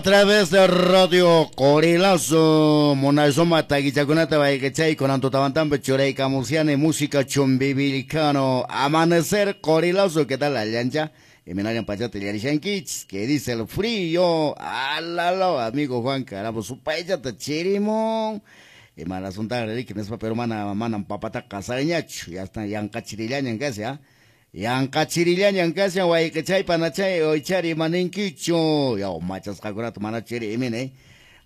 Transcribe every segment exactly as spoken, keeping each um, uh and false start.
A través de Radio Qorilazo, munasuma takichakunata wayqichay kunan tutamantampi churaykamusyani música chumbivilcano. Amanecer Qorilazo, ¿qué tal allancha? Imaynallan pachata illarishankichis, ¿qué dice el frío? Alalo, amigo Juan, caramba, supaychata chirimon. Ima asuntaqa riki nispa, pero mana manam papataqa qasariñachu, ya está yanqachirillañan kashan, ¿ah? Yanqachirillañan kashan wayqichay panachay oychari imaninkichu. Yaw machasqakunata mana chiri imini.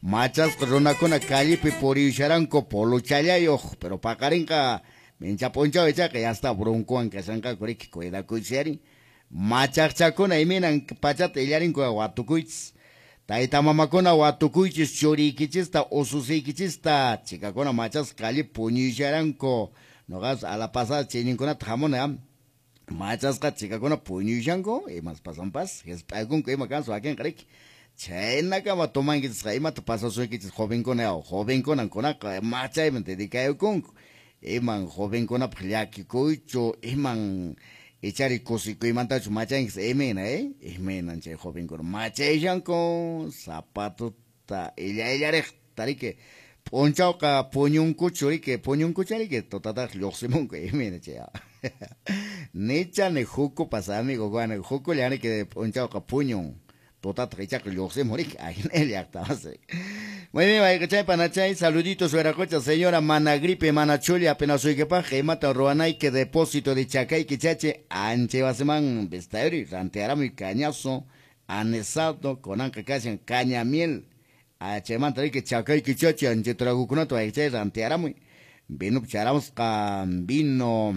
Machasqa runakuna callepi puriyusharanku polochallayuq, pero paqarinqa mincha p'unchaw ichaqa ya está broncowan kashanqaku riki, cuidakuychis. Machaqchakuna iminan pachata illarinku watukuychis. Tayta mamakuna watukuychis churiykichista ususiykichista, chikakuna machasqa callepi puñuyusharanku. Noqas a la pasada chayninkunata hamuni am. Machasqa chikakuna puñuyushanku, imas pasanpas, hisp'aykunku ima kansu wakinqa riki. Chhaynakama tumankichisqa imata pasasunkichis jovenkuna yaw, jovenkunan kunaqa machayman dedicayukunku. Iman jovenkunapaq llakikuychu, iman ichari kusikuymantachu machankis imayna, eh? Imaynan chay jovenkuna machayshanku, zapatuta illa illariqta riki. P'unchawqa puñunkuchu riki, puñunkucha riki, tutataq lluqsimunku imayna chay. Nichani hukupas amigo Juan, hukulla riki p'unchawqa puñun, tutataq ichaqa lluqsimun riki, ahina llaqta. Muy bien, wayqichay panachay, saluditos Huiracocha, señora, mana gripe, mana chulla, apenas suykipaq, imata ruwanayki depósito de chakayki chachi, ancha wasiman vistayri, rantearamuy cañazo, anisado, kunanqa kashan caña miel, achaymanta riki chakayki chachi, ancha tragukunata wayqichay rantearamuy, vino charamusqa vino